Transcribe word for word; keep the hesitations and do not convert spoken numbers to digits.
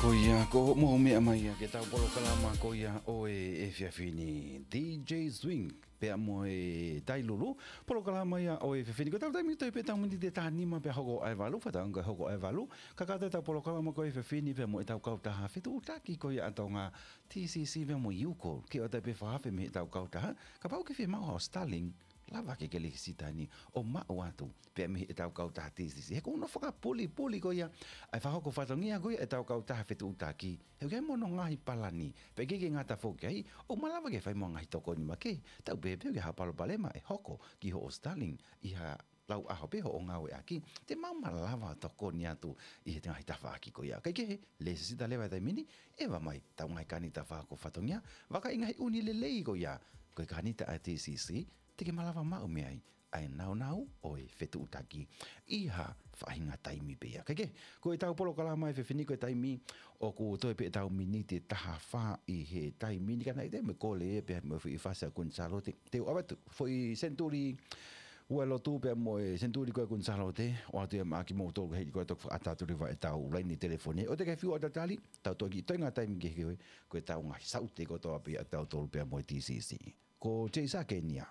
Ko ia, ko hoʻomou meʻa mai ia ki heʻetau polokalama ko ia ʻo e efiafi ni, D J Swing pea mo e Tailulu. Polokalama ia ʻo e efiafi ni, ko ʻetau taimi toe pē ʻetau miniti ʻe taha nima pea hoko ʻa e valu, fakaʻamu ke hoko ʻa e valu. Kakato ʻetau polokalama ko e efiafi ni pea mo ʻetau kautaha fetuʻutaki ko ia ʻa Tonga, T C C pea mo e U K O L. Ke ʻoatu pē fakaafe mei heʻetau kautaha, kapau ʻoku ke fiemaʻu haʻo Starlink, lava ke ke lēsisita heni ʻo maʻu atu pē mei heʻetau kautaha T C C. He ʻoku nau fakapulipuli ko ia ʻa e fakahoko fatongia ko ia ʻetau kautaha fetuʻutaki. He ʻoku ʻi ai mo hono ngaahi palani, pea ʻikai ke ngata foki ai, ʻoku malava ke fai mo e ngaahi tokoni makehe. Tau pehē pē ʻoku ʻi ai ha palopalema ʻe hoko ki hoʻo Starlink ʻi ha lau ʻaho pē hoʻo ngāueʻaki, te mau malava tokoni atu ʻi he ngaahi tafaʻaki ko ia. Kae kehe, lēsisita leva he taimi ni, ʻeva mai ʻetau ngaahi kānita fakahoko fatongia, vakai ngaahi ʻū lelei ko ia, ko e kānita ʻa e T C C, te ke malava maʻu mei ai ʻa e nāunau ʻo e fetuʻutaki ʻi ha faʻahinga taimi pē ia. Kae kehe, ko ʻetau polokalama he efiafi ni ko e taimi ʻoku toe pē ʻetau miniti ʻe taha fā ʻi he taimi ni, ka naʻe ʻi ai mo e kole pea mo e foʻi fasi ʻa Kuini Sālote. Te u ʻave atu foʻi senituli ua lotu pea mo e senituli ko ē ʻa Kuini Sālote, ʻoatu ia maʻa kimoutolu ka hili ko ē toki fakaʻatā atu leva ʻetau laine telefoni. ʻOua te ke fiu ʻo tatali, tau toki toenga taimi kehe ko ē, ko ʻetau ngaahi saute kotoa pē ʻatautolu pea mo e T C C. Ko Jason Kenia.